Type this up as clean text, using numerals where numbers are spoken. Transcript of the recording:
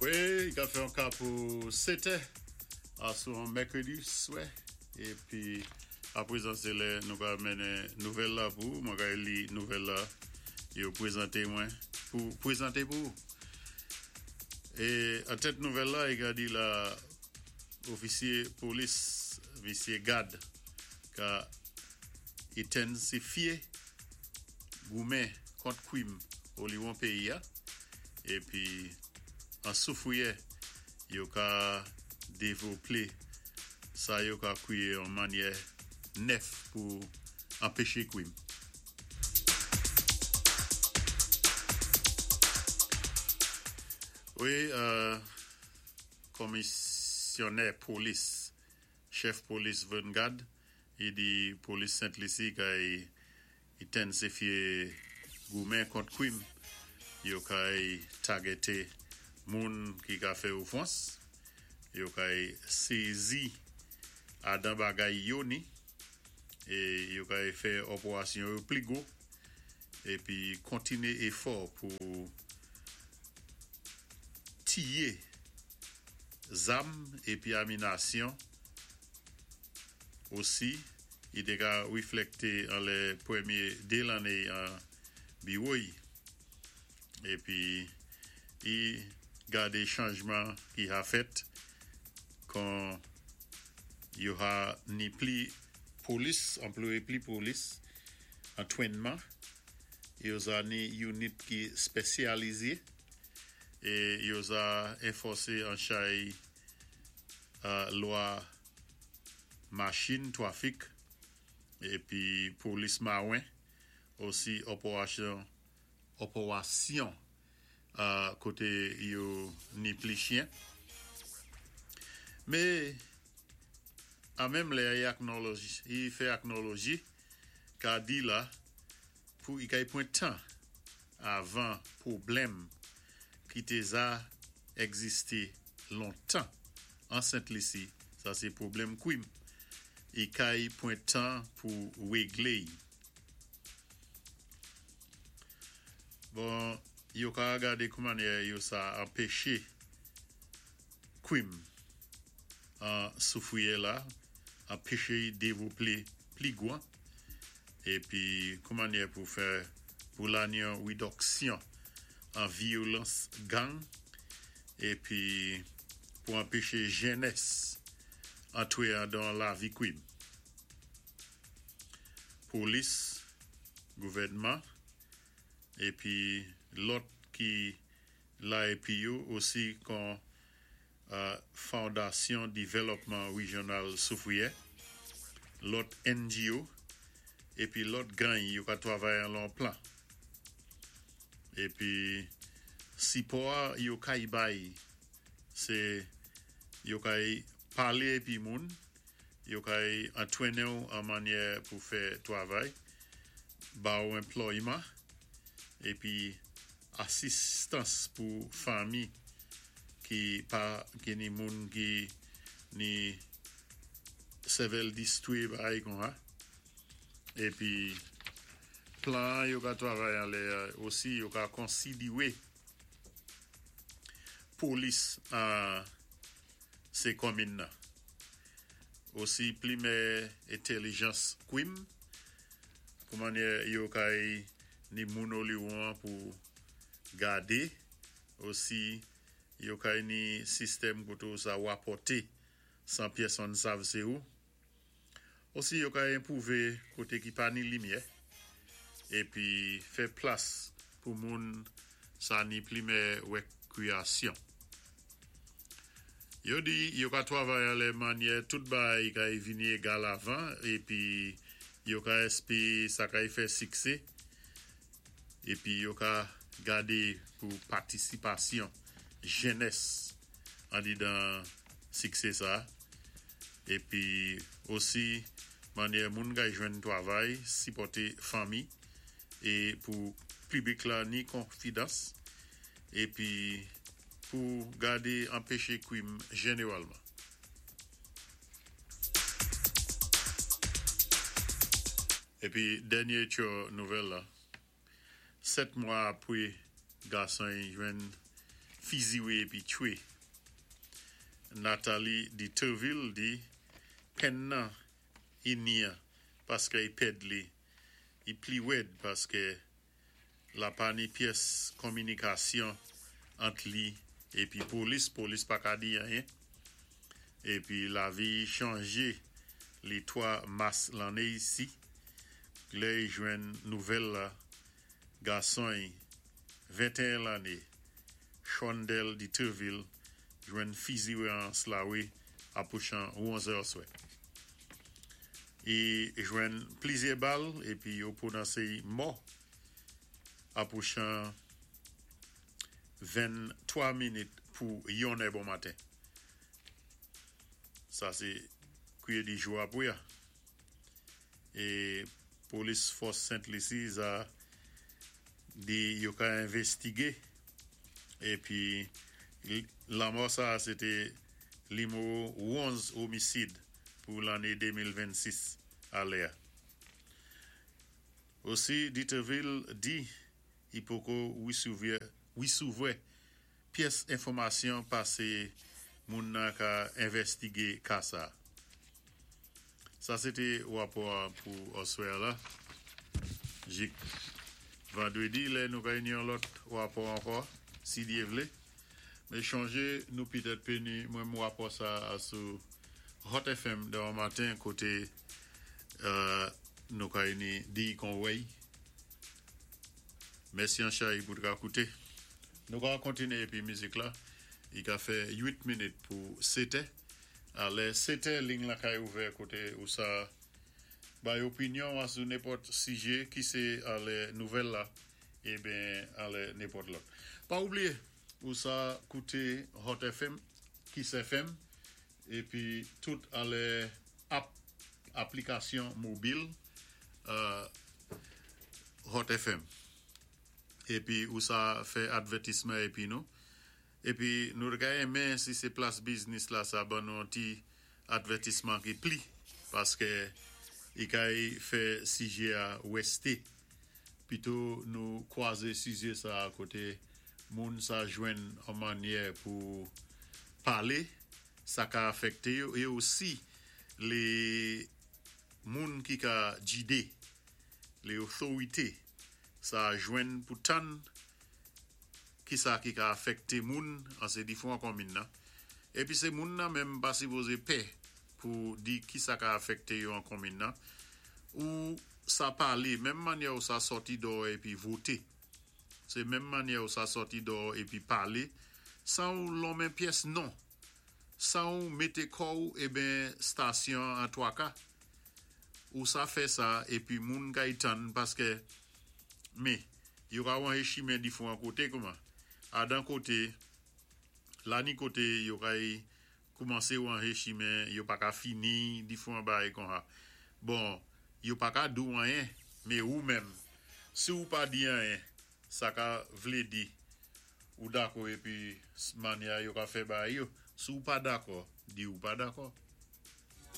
Wi, i ka fè yon ka pou 7 è asou yon mèkredi swè. Épi aprezan sé lè nou ka mennen nouvèl la pou ou. Mwen ka li nouvèl la yo pwézanté mwen pou pwézanté pou ou. É an tèt nouvèl la i ka di la ofisyé polis misyé gad ka entensifyé goumen kont kwim oliwon péyi-a épi an Soufriyè yo ka dévloplé sa yo ka kwiyé yon mannyè nèf pou anpeché kwim. Wi, komisyonè polis, chèf polis Vangard, i di polis Sent Lisi kay Entensifye goumen kont kwim, yo kay tagete moun ki ka fè ofans, yo kay sezi adan bagay yo ni, e yo kay fè òporasyon yo pli gwo, epi kontine efò pou tiye zam epi aminasyon. Osi, i té ka wiflèkté anlè pwémyé 2 lanné an biwo-y épi i gadé chanjman ki ha fèt kon yo ha ni pli polis, anployé pli polis, antwénman, yo za ni younit ki spèsyalizé é yo za enfòsé an chay lwa machin twafik épi polis mawen, osi òporasyon òporasyon koté yo ni pli chyen. Mé an menm lè i aknòlòj i fè aknòlòji ka di la pou i kay pwan tan avan pwoblèm ki té za egzisté lontan an Sent Lisi, sa sé pwoblèm kwim, i kay pwan tan pou wéglé-y. Bon, yo ka gadé koumannyè yo sa anpeché kwim an Soufriyè la, anpeché-y dévloplé pli gwan, épi koumannyè pou fè pou lanyon widòksyon an vyolans gang épi pou anpeché jènès antwé andan lavi kwim. Polis, gouvènman épi lòt ki la épi yo osi kon Fondasyon Divèlòpman Wijyonal Soufriyè, lòt NGO, épi lòt gany yo ka twavay an lon plan. Épi sipò-a yo kay bay sé yo kay palé épi moun, yo kay antwénen'w an mannyè pou fè twavay, ba-ou enplòyman, épi asistans pou fanmi ki pa ki ni moun ki ni sèvèl distwi bagay konsa. Épi plan yo ka twavay anlè osi yo ka konsidiwé polis an sé kòminn nan. Osi plimè entèlijans kwim koumannyè yo kay ni moun oliwon an pou gadé, osi yo kay ni sistèm koté ou sa wapòté san pyèsonn sav sé ou. Osi yo kay enpwouvé koté ki pa ni limyè épi fè plas pou moun sa ni plimè wèkwiyasyon. Yo di yo ka twavay anlè mannyè tout bagay kay vini égal avan épi yo ka èspé sa kay fè siksé épi yo ka gadé pou patisipasyon jènès andidan siksé sa épi osi mannyè moun kay jwenn twavay, sipòté fanmi é pou piblik la ni konfidans épi pou gadé anpeché kwim jénéwalman. Épi dènyé tyo nouvèl la, 7 mwa apwé gason-y jwenn Fiziwé épi tchwé. Nathalie Deterville di penn nan i ni an paské i pèd li, i pli wèd paské la pa ni pyès konminikasyon ant li épi polis, polis pa ka di anyen. Épi lavi i chanjé li 3 mas lanné isi, lè i jwenn nouvèl la gason i, 21 lanné, Shondel Deterville jwenn fiziwé an Slawe apwochan 11 è oswè. I jwenn plizyè bal épi yo pwononsé i mò apwochan 23 minit pou 1 è bon maten. Sa sé kwié di jou apwé a. É polis fòs Sent Lisi za di yo ka envestigé épi lanmò sa sé té nimewo 11 omisid pou lanné 2026 alè a. Osi Deterville di i poko wisouvrè pyès enfòmasyon pasé moun nan ka envèstigé ka sa. Sa sé té wapò a pou oswè a la. Jik vandwédi lè nou ka ni yon lòt wapò ankò, si Dyé vlé. Mé chonjé nou pitèt pé ni menm wapò sa a sou Hot FM demen maten koté nou ka ni di kon wèy. Mèsi an chay pou ka kouté. Nou ka kontiné épi mizik la, i ka fè 8 minit pou 7 è. Alè 7 è ling la kay ouvè koté ou sa bay opinyon a sou nenpòt sijé ki sé alè nouvèl la eben alè nenpòt lòt. Pa oubliyé ou sa kouté Hot FM, Kiss FM épi tout alè app aplikasyon mobil Hot FM. Épi ou sa fè advètisman épi nou. Épi nou ka renmen si sé plas biznis la sa ban nou ti advètisman ki pli paské i kay fè sijé a wèsté. Pito nou kwazé sijé sa koté moun sa jwenn an mannyè pou palé, sa ka afèkté yo é osi lé moun ki ka jidé, lé otorité sa jwenn pou tann ki sa ki ka afèkté moun an sé difwan konmin nan. Épi sé moun nan menm pa sipozé pè pou di ki sa ka afèkté yo an konmin nan ou sa palé menm mannyè ou sa sòti dò épi voté. Sé menm mannyè ou sa sòti dò épi palé san ou lonmen pyès non. San ou mété kò ou eben stasyon an twaka. Ou sa fè sa épi moun kay tann paské mé yo ka wanje chimen difwan koté kouman. Adan koté, la ni koté yo kay koumansé wanje chimen, yo pa ka fini difwan bagay kon sa. Bon, yo pa ka di ou anyen, mé ou menm, si ou pa di anyen, sa ka vlé di ou dakò épi mannyè yo ka fè bagay yo. Si ou pa dakò, di ou pa dakò.